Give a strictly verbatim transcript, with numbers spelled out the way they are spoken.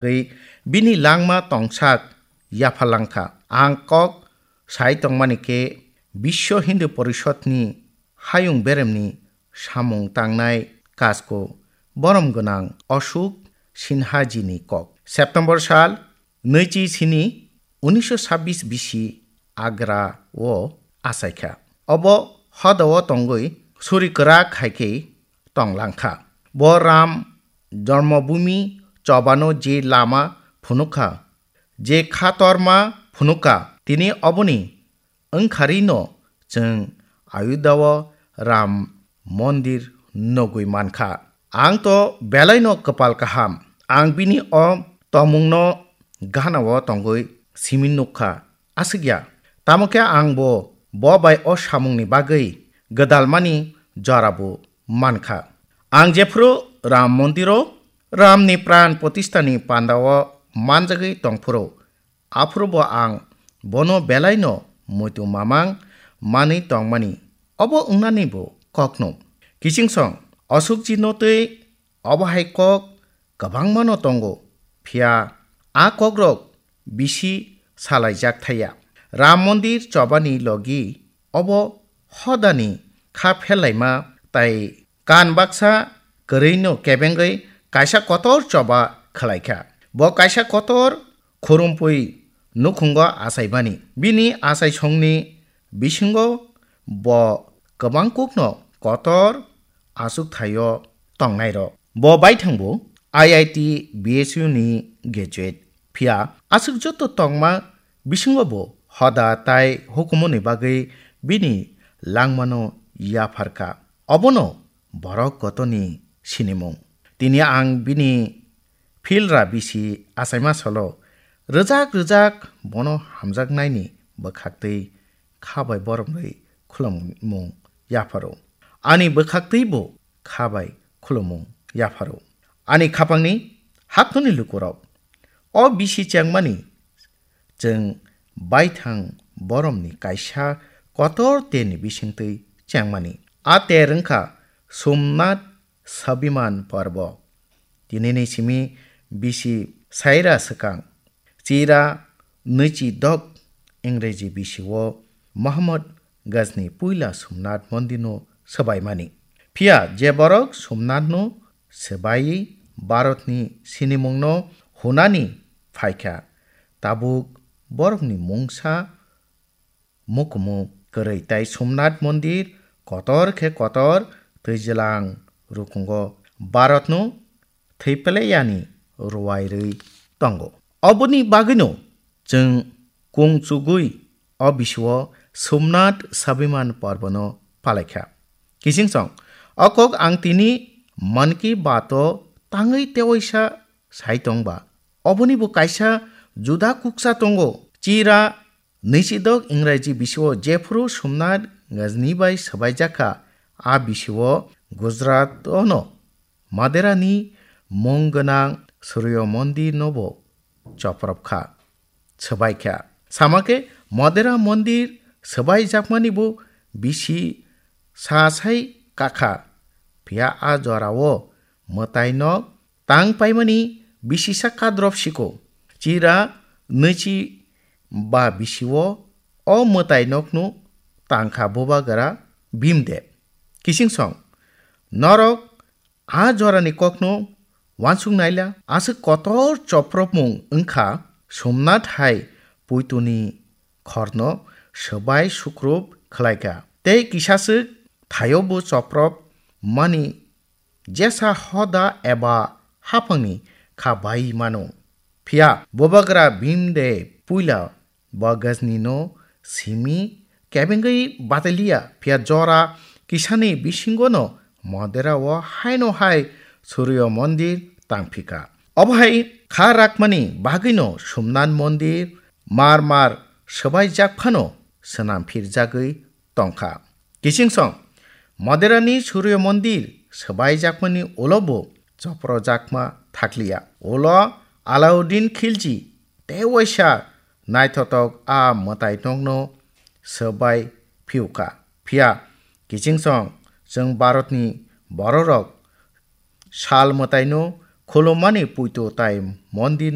tei bini langma tongsak yapharlangkha. Ang kok sai tongmani khe Biswa Hindu Porishodni hayung beremni samung tangnai kasko borom gwnang Ashok Sinhajini kok. September sal nwichi sini unisho sabbis bisi Agra o achaikha. Obo hodao tongwi suri kwrak hai khe tonglangkha. Bo Ram Jormobhumi chobano je lama phunukha, je khatorma phunukha, tini oboni wngkharino chwng Ayodhya o Ram Mondir nugwi mankha. Ang to belaino kwpal kaham. Ang bini o tongmungno ganao tongwi simi nukkha. Aswk ya. Tamo khe ang bo, bo bai o samungni bagwi gwdalmani jorabo mankha. Ang jephru Ram Mondiro Ramni pran protishtani pandao manjagwi tongphuru, aphuru bo ang bono belaino muitu mamang manwi tongmani, obo wngnani bo kokno. Kichingsong Ashokjino tei obo hai kok kwbangmano tongo, phiya a kokrok bisi salaijak thaya. Ram Mondir chobani logi obo hodani kha pherlaima tai kan baksa kwrwino kebengwi kaisa kotor choba khwlaikha. Bo kaisa kotor khurumpui nukhungo achaimani. Bini achaisongni bisingo bo kwbangkukno kotor achukthai-o tongnairok. Bo baithangbo I I T, B S U ni graduate. Phiya aswk joto tongma bisingo bo hoda tai hukumuni bagwi bini langmano yapharkha. Obono borok kotoni sinimung. Tini ang bini philra bisi achaima solo rwjak rwjak bono hamjaknaini bwkhaktwi kha bai boromrwi khulumung yapharo. Ani bwkhaktwi bo kha bai khulumung yapharo. Ani khapangni haktorni lukurok, o bisi chengmani chwng baithang boromni kaisa kotor terni bisingtwi chengmani. A ter wngkha Somnath Swabiman Parbo. Tinini simi bisi saira swkang, chira nwichi dok Ingreji bisio Mohammad Ghazni puila Somnath Mondirno swbaimani. Phiya je borok Somnathno swbaiwi Bharatni sinimungno hunani phaikha, tabuk borokni mungsa mukumu kwrwi tai Somnath Mondir kotor khe kotor twijlang rukungo Bharatno thwipleyani ruwairwi tongo. Oboni bagwino chwng kung chugwi o bisio Somnath Swabiman Parbono palaikha. Kichingsong o kok ang tini Mann Ki Baat o tangwi tewaisa sai tongba. Oboni bo kaisa juda kuksa tongo. Chira nwichidok Ingreji bisio jephru Somnath Ghazni bai swbaijakha, a bisio Gujarat ono Maderani mung gwnang Suryo Mondir no bo chopropkha, swbaikha. Samakhe Madera Mondir swbaijakmani bo bisi sa sai kakha, phiya a jorao mwtai nok tang paimani bisisa kadrop siko. Chira nwichi ba bisio o mwtai nokno tangkha Bubagra Bhimdev. Kichingsong norok a jorani kokno wansuk naila, aswk kotor chopropmung wngkha Somnath hai puituni khorno swbai sukrup khlaikha. Tei kisaswk thaio bo choprop mani jesa hoda eba haphangni kha bai mano. Phiya Bubagra Bhimdev puila bo Ghazni no simi kebengwi bataliya, phiya jora kisani bisingo no Madera o haino hai Suryo Mondir tangphika. Obo hai kha rakmani bagwino Somnath Mondir mar mar swbaijak phano swnam phirjagwi tongkha. Kichingsong Maderani Suryo Mondir swbaijakmani ulo bo choprojakma thakliya. Ulo Alauddin Khilji tei waisa naithotok a mwtai nokno swbai phiukha. Phiya kichingsong chwng Bharatni bororok sal mwtaino khulumani puito tai mondir